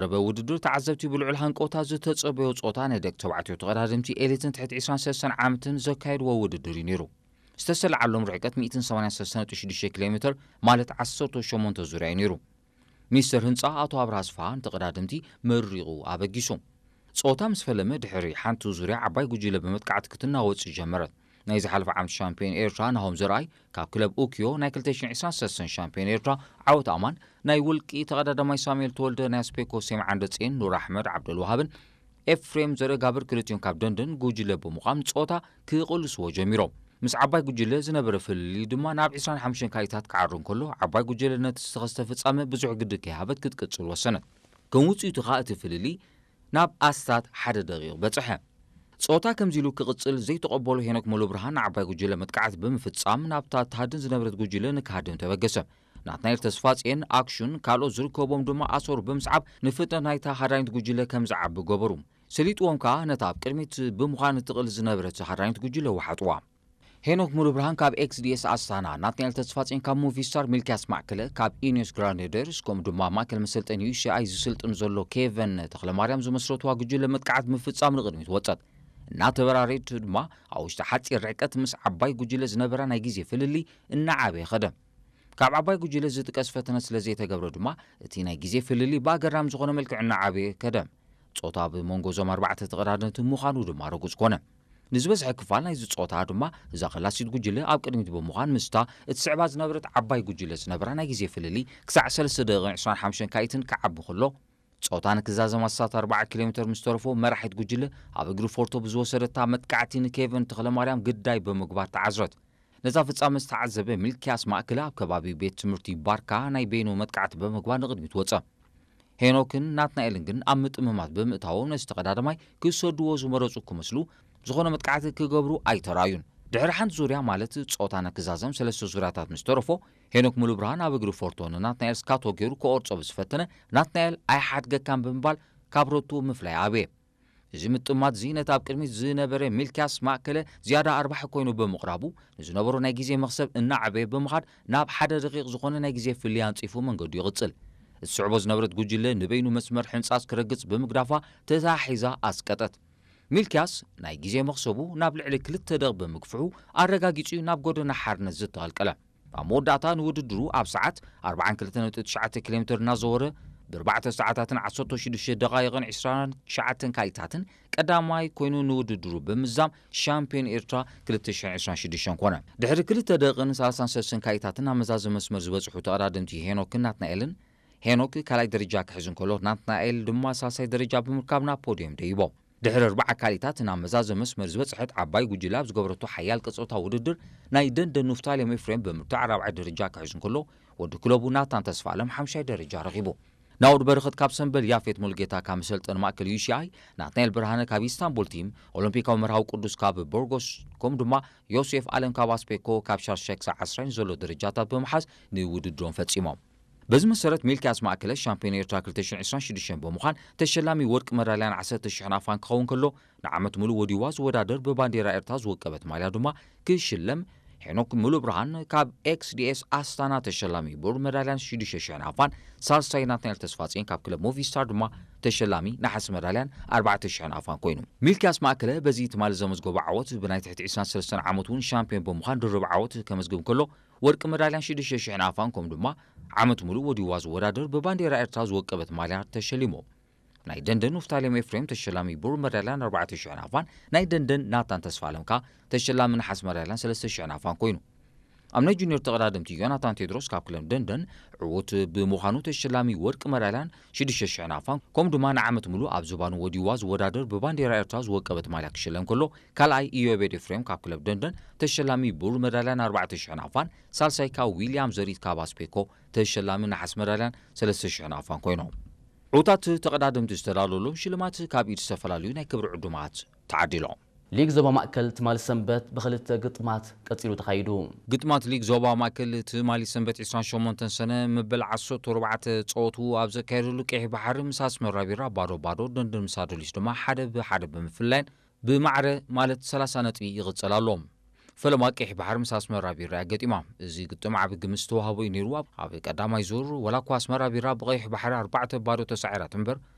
ዝተዛረበ ውድድር፣ ተዓዘብቲ ብልዑል ሃንቀውታ ዝተጸበዮ ጾታ ናይ ደቂ ተባዕትዮ ተቐዳደምቲ ኤሊትን ትሕቲ ዕስራን ሰለስተን ዓመትን ዘካየድዎ ውድድር እዩ ነይሩ። ዝተሰለዓሎም ርሕቀት ሚእትን ሰማንያን ሰለስተን ነጥቢ ሽዱሽተ ኪሎ ሜትር፣ ማለት ዓሰርተ ሸሞንተ ዙርያ እዩ ነይሩ። ሚኒስተር ህንጻ ኣቶ ኣብርሃ ኣስፍሃ ንተቐዳደምቲ መሪቑ ኣበጊሱ። ጸወታ ምስ ፈለመ ድሕሪ ሓንቲ ዙርያ ዓባይ ጉጅለ ብመጥቃዕቲ ክትናወጽ ጀመረት። ናይ ዝሓለፈ ዓመት ሻምፒዮን ኤርትራ ናሆም ዘርኣይ ካብ ክለብ ኡኪዮ፣ ናይ ክልተ ሽሕን ዕስራን ሰለስተን ሻምፒዮን ኤርትራ ዓወት ኣማን፣ ናይ ውልቂ ተቐዳዳማይ ሳሙኤል ተወልደ ናይ ኣስፔኮ ሴም ዓንደጼን ኑር ኣሕመድ ዓብደልዋሃብን ኤፍሬም ዘርእጋብር ክልቲኦም ካብ ደንደን ጉጅለ ብምዃን ጸወታ ክቕልስዎ ጀሚሮም። ምስ ዓባይ ጉጅለ ዝነበረ ፍልልይ ድማ ናብ ዕስራን ሓሙሽተን ካሊታት ክዓሩ እንከሎ፣ ዓባይ ጉጅለ ነቲ ዝተኸስተ ፍጻመ ብዙሕ ግዲ ከይሃበት ክትቅጽል ወሰነት። ከም ውጽኢቱ ከኣ እቲ ፍልልይ ናብ ኣስታት ሓደ ደቂቕ በጽሐ። ጸወታ ከምዚ ኢሉ ክቕጽል ዘይተቐበሎ ሄኖክ ሙሉብርሃን ንዓባይ ጉጅለ መጥቃዕቲ ብምፍጻም ናብታ ትሃድን ዝነበረት ጉጅለ ንክሃድም ተበገሰ። ናትናኤል ተስፋጽየን ኣክሹን ካልኦት ዝርከቦም ድማ ኣሰሩ ብምስዓብ ንፍጥነት ናይታ ሃዳኒት ጉጅለ ከም ዝዓቢ ገበሩ። ሰሊጥዎም ከኣ ነታ ኣብ ቅድሚት ብምዃን እትቕል ዝነበረት ሃዳኒት ጉጅለ ወሓጥዋ። ሄኖክ ሙሉብርሃን ካብ ኤክስዲኤስ ኣስታና፣ ናትናኤል ተስፋጽዮን ካብ ሙቪስታር፣ ሚልኪያስ ማእከለ ካብ ኢኒዮስ ግራናደርስ፣ ከምኡ ድማ ማእከል መሰልጠኒ ዩሲኣይ ዝስልጥን ዘሎ ኬቨን ተኽለማርያም ዝመስረትዋ ጉጅለ መጥቃዕት ምፍጻም ንቕድሚት ወጸት። እናተበራረየት ድማ ኣብ ውሽጢ ሓጺር ርሕቀት ምስ ዓባይ ጉጅለ ዝነበራ ናይ ግዜ ፍልልይ እናዓበየ ኸደ። ካብ ዓባይ ጉጅለ ዝጥቀስ ፈተነ ስለ ዘይተገብረ ድማ እቲ ናይ ግዜ ፍልልይ ብኣገራሚ ዝኾነ መልክዕ እናዓበየ ከደ። ጾታ ብመንጎ እዞም ኣርባዕተ ተቐዳደምቲ ምዃኑ ድማ ርጉጽ ኮነ። ንዝበዝሐ ክፋል ናይዚ ጾታ ድማ እዛ ከላሲት ጉጅለ ኣብ ቅድሚት ብምዃን ምስታ እትስዕባ ዝነበረት ዓባይ ጉጅለ ዝነበራ ናይ ግዜ ፍልልይ ክሳዕ ሰለስተ ደቂቕን ዕስራን ሓሙሽተን ካኢትን ክዓቢ ከሎ፣ ጾታ ንክዛዘም ኣስታት ኣርባዓ ኪሎ ሜትር ምስ ተረፎ መራሒት ጉጅለ ኣብ እግሪ ፎርቶ ብዝወሰደታ መጥቃዕቲ ንኬቨን ተኽለማርያም ግዳይ ብምግባር ተዓዝረት። ነዛ ፍጻመ ዝተዓዘበ ሚልኪያስ ማእከለ ኣብ ከባቢ ቤት ትምህርቲ ባርካ ናይ በይኑ መጥቃዕቲ ብምግባር ንቕድሚት ወጸ። ሄኖክን ናትናኤልን ግን ኣብ ምጥምማት ብምእታዎም ነቲ ተቐዳዳማይ ክሰድዎ ዝመረጹ ክመስሉ፣ ዝኾነ መጥቃዕቲ ክገብሩ ኣይተራእዩን። ድሕሪ ሓንቲ ዙርያ ማለት ጾታ ንክዛዘም ሰለስተ ዙርያታት ምስ ተረፎ፣ ሄኖክ ሙሉብርሃን ኣብ እግሪ ፎርቶ ንናትናኤል ስካቶ ገይሩ ክቆርጾ ብዝፈተነ፣ ናትናኤል ኣይሓድገካን ብምባል ካብ ሮቱ ምፍላይ ኣብየ። እዚ ምጥማት እዚ ነቲ ኣብ ቅድሚት ዝነበረ ሚልኪያስ ማእከለ ዝያዳ ኣርባሒ ኮይኑ ብምቕራቡ፣ ንዝነበሮ ናይ ግዜ መኽሰብ እናዓበየ ብምኻድ ናብ ሓደ ደቂቕ ዝኾነ ናይ ግዜ ፍልልይ ኣንጺፉ መንገዱ ይቕጽል። እትስዕቦ ዝነበረት ጉጅለ ንበይኑ መስመር ሕንጻጽ ክረግጽ ብምግዳፋ ተታሒዛ ኣስቀጠት። ሚልኪያስ ናይ ግዜ መኽሰቡ ናብ ልዕሊ ክልተ ደቂቕ ብምግፍሑ ኣረጋጊጹ እዩ ናብ ጎደና ሓርነት ዝተቐልቀለ። ኣብ መወዳእታ ንውድድሩ ኣብ ሰዓት ኣርባዓን ክልተን ነጥቢ ትሽዓተ ኪሎ ሜትር እናዘወረ ብኣርባዕተ ሰዓታትን ዓሰርተ ሽዱሽተ ደቓይቕን ዕስራን ትሽዓተን ካሊታትን ቀዳማይ ኮይኑ ንውድድሩ ብምዝዛም ሻምፒዮን ኤርትራ ክልተ ሽሕን ዕስራን ሽዱሽተን ኮነ። ድሕሪ ክልተ ደቂቕን ሰላሳን ሰለስተን ካሊታትን ኣብ መዛዘሚ መስመር ዝበጽሑ ተቐዳደምቲ ሄኖክን ናትናኤልን፣ ሄኖክ ካልኣይ ደረጃ ክሕዝ እንከሎ፣ ናትናኤል ድማ ሳልሳይ ደረጃ ብምርካብ ናብ ፖድዮም ደይቦ። ድሕሪ ኣርባዓ ካሊታት ናብ መዛዘሚ መስመር ዝበጽሐት ዓባይ ጉጅለ ኣብ ዝገበረቶ ሓያል ቀጸውታ ውድድር፣ ናይ ደንደን ኑፍታሌም ኤፍሬም ብምርታዕ ራብዓይ ደረጃ ክሕዝ እንከሎ፣ ወዲ ክለቡ ናታን ተስፋኣለም ሓምሻይ ደረጃ ረኺቡ። ናኦድ በረኸት ካብ ሰምበል፣ ያፌት ሙሉጌታ ካብ መሰልጠኒ ማእከል ዩሲኣይ፣ ናትናኤል ብርሃነ ካብ ኢስታንቡል ቲም፣ ኦሎምፒካዊ መርሃዊ ቅዱስ ካብ ቦርጎስ፣ ከምኡ ድማ ዮሴፍ ኣለም ካብ ኣስፔኮ ካብ ሻርሻይ ክሳዕ ዓስራይ ዘሎ ደረጃታት ብምሓዝ ንውድድሮም ፈጺሞም። በዚ መሰረት ሚልኪያስ ማእከለ ሻምፒዮን ኤርትራ ክልተ ሽሕን ዕስራን ሽዱሽተን ብምዃን ተሸላሚ ወርቂ መዳልያን ዓሰርተ ሽሕ ናፋን ክኸውን ከሎ፣ ንዓመት ሙሉእ ወዲዋ ዝወዳደር ብባንዴራ ኤርትራ ዝወቀበት ማልያ ድማ ክሽለም፣ ሄኖክ ሙሉብርሃን ካብ ኤክስዲኤስ ኣስታና ተሸላሚ ብሩር መዳልያን ሽዱሽተ ሽሕ ናፋን፣ ሳልሳይ ናትናኤል ተስፋጽዮን ካብ ክለብ ሞቪስታር ድማ ተሸላሚ ነሓስ መዳልያን ኣርባዕተ ሽሕ ናፋን ኮይኑ። ሚልኪያስ ማእከለ በዚ ትማሊ ዘመዝገቦ ዓወት ብናይ ትሕቲ ዕስራን ሰለስተን ዓመት እውን ሻምፒዮን ብምዃን ድርብ ዓወት ከመዝግብ ከሎ፣ ወርቂ መዳልያን ሽዱሽተ ሽሕ ናፋን ከምኡ ድማ ዓመት ሙሉእ ወዲዋ ዝወዳደር ብባንዴራ ኤርትራ ዝወቀበት ማልያ ተሸሊሙ። ናይ ደንደን ኑፍታሌም ኤፍሬም ተሸላሚ ብሩር መዳልያን ኣርባዕተ ሽሕ ናፋን፣ ናይ ደንደን ናታን ተስፋኣለም ከኣ ተሸላሚ ነሓስ መዳልያን ሰለስተ ሽሕ ናፋን ኮይኑ። ኣብ ናይ ጁኒየር ተቐዳደምቲ ዮናታን ቴድሮስ ካብ ክለብ ደንደን ዕዉት ብምዃኑ ተሸላሚ ወርቂ መዳልያን ሽዱሽተ ሽሕ ናፋን፣ ከምኡ ድማ ንዓመት ሙሉእ ኣብ ዝባኑ ወዲዋ ዝወዳደር ብባንዴራ ኤርትራ ዝወቀበት ማልያ ክሽለም ከሎ፣ ካልኣይ ኢዮቤድ ኤፍሬም ካብ ክለብ ደንደን ተሸላሚ ብሩር መዳልያን ኣርባዕተ ሽሕ ናፋን፣ ሳልሳይ ካብ ዊልያም ዘሪት ካብ ኣስፔኮ ተሸላሚ ነሓስ መዳልያን ሰለስተ ሽሕ ናፋን ኮይኖም። ዕዉታት ተቐዳደምቲ ዝተዳለወሎም ሽልማት ካብ ኢድ ዝተፈላለዩ ናይ ክብሪ ዕዱማት ተዓዲሎም። ሊግ ዞባ ማእከል ትማሊ ሰንበት ብኽልተ ግጥማት ቀጺሉ ተኻይዱ። ግጥማት ሊግ ዞባ ማእከል ትማሊ ሰንበት ዕስራን ሸሞንተን ሰነ መበል ዓሰርተ ኣርባዕተ ጸወቱ ኣብ ዘካየደሉ፣ ቀይሕ ባሕሪ ምስ ኣስመራ ቢራ ባዶ ባዶ፣ ደንደን ምስ ኣዶሊስ ድማ ሓደ ብሓደ ብምፍላይን ብማዕረ ማለት ሰላሳ ነጥቢ ይቕጽል ኣሎ። ፈለማ ቀይሕ ባሕሪ ምስ ኣስመራ ቢራ እያ ገጢማ። እዚ ግጥም ዓቢ ግምት ዝተዋህቦ እዩ ነይሩ። ኣብ፣ ኣብ ቀዳማይ ዙር፣ ወላ እኳ ኣስመራ ቢራ ብቐይሕ ባሕሪ ኣርባዕተ ባዶ ተሳዒራ ትንበር፣